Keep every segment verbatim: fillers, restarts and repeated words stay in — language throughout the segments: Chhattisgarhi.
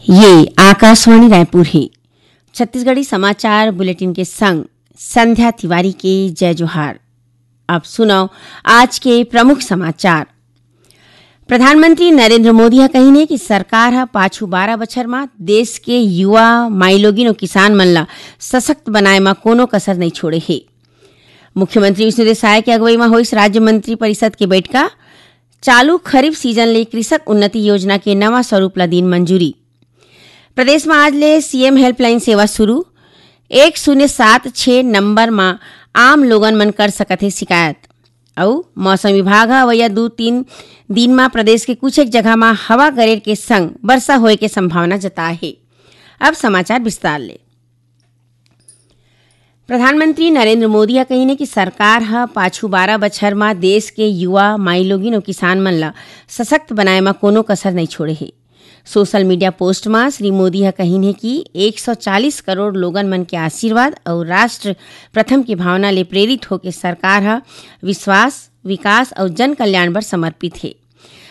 ये आकाशवाणी रायपुर हे। छत्तीसगढ़ी समाचार बुलेटिन के संग संध्या तिवारी के जय जोहार। अब सुनव आज के प्रमुख समाचार। प्रधानमंत्री नरेंद्र मोदी ह कहिन हे कि सरकार ह पाछू बारह बछर म देश के युवा, माईलोगिन अउ किसान मन ल सशक्त बनाए म कोनो कसर नइ छोड़े हे। मुख्यमंत्री विष्णुदेव साय के अगुवई म होइस राज्य मंत्री परिषद के बैठका। चालू खरीफ सीजन ले कृषक उन्नति योजना के नवा स्वरूप ल दीन मंजूरी। प्रदेश म आज ले सीएम हेल्पलाइन सेवा शुरू। एक शून्य सात छह नंबर म आम लोगन मन कर सकत हे शिकायत। अउ मौसम विभाग ह अवइया दू तीन दिन म प्रदेश के कुछ एक जगह म हवा गरेर के संग वर्षा होए के संभावना जताए हे। अब समाचार विस्तार ले। प्रधानमंत्री नरेंद्र मोदी ह कहिन हे कि सरकार ह पाछू बारह बछर म देश के युवा, माईलोगिन अउ किसान मन ल सशक्त बनाए म कोनो कसर नइ छोड़े हे। सोशल मीडिया पोस्ट म श्री मोदी ह कहिन हे कि एक सौ चालीस करोड़ लोगन मन के आशीर्वाद अउ राष्ट्र प्रथम के भावना ले प्रेरित होके सरकार ह विश्वास, विकास अउ जन कल्याण बर समर्पित हे।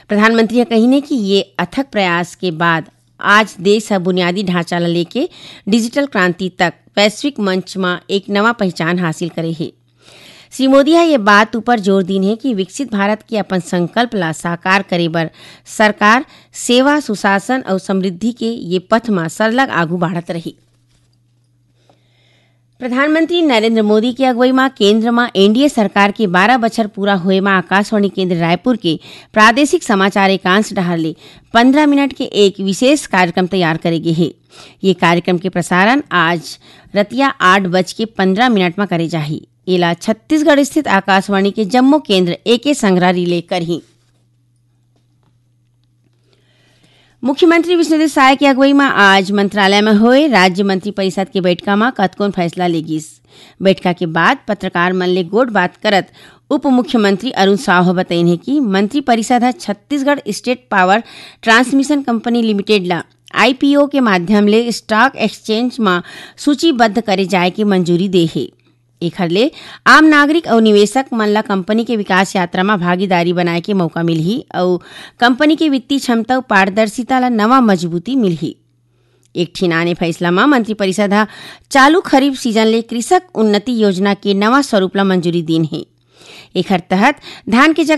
प्रधानमंत्री ह कहिन हे कि ये अथक प्रयास के बाद आज देश ह बुनियादी ढांचा ल लेके डिजिटल क्रांति तक वैश्विक मंच म एक नवा पहचान हासिल करे हे। श्री मोदी ह ये बात ऊपर जोर दीन हे कि विकसित भारत के अपन संकल्प ला साकार करे बर सरकार सेवा, सुशासन अउ समृद्धि के ये पथ म सरलग आगू बाढ़त रही। प्रधानमंत्री नरेंद्र मोदी के अगुवई म केंद्र म एनडीए सरकार के बारह बछर पूरा होए म आकाशवाणी केंद्र रायपुर के प्रादेशिक समाचार एकांश डहार ले पन्द्रह मिनट के एक विशेष कार्यक्रम तैयार करे गे हे। ये कार्यक्रम के प्रसारण आज रतिया आठ बज के पन्द्रह मिनट म करे जाही। एला छत्तीसगढ़ स्थित आकाशवाणी के जम्मो केंद्र एके संघरा रिले करही। मुख्यमंत्री विष्णुदेव साय के अगुवई म आज मंत्रालय म होए राज्य मंत्री परिषद के बैठका म कतकोन फैसला ले गिस। बैठका के बाद पत्रकार मन ले गोठ बात करत उप मुख्यमंत्री अरुण साव ह बतईन हे कि मंत्री परिषद ह Chhattisgarh state power transmission company limited ल आईपीओ के माध्यम ले स्टॉक एक्सचेंज म सूचीबद्ध करे जाय के मंजूरी दे हे। एखर ले आम नागरिक अउ निवेशक मन ल कंपनी के विकास यात्रा म भागीदारी बनाए के मौका मिलही अउ कंपनी के वित्तीय क्षमता अउ पारदर्शिता ल नवा मजबूती मिलही। एक ठिन आने फैसला म मंत्रिपरिषद ह चालू खरीफ सीजन ले कृषक उन्नति योजना के नवा स्वरूप ल मंजूरी दीन हे। एखर तहत धान के जगह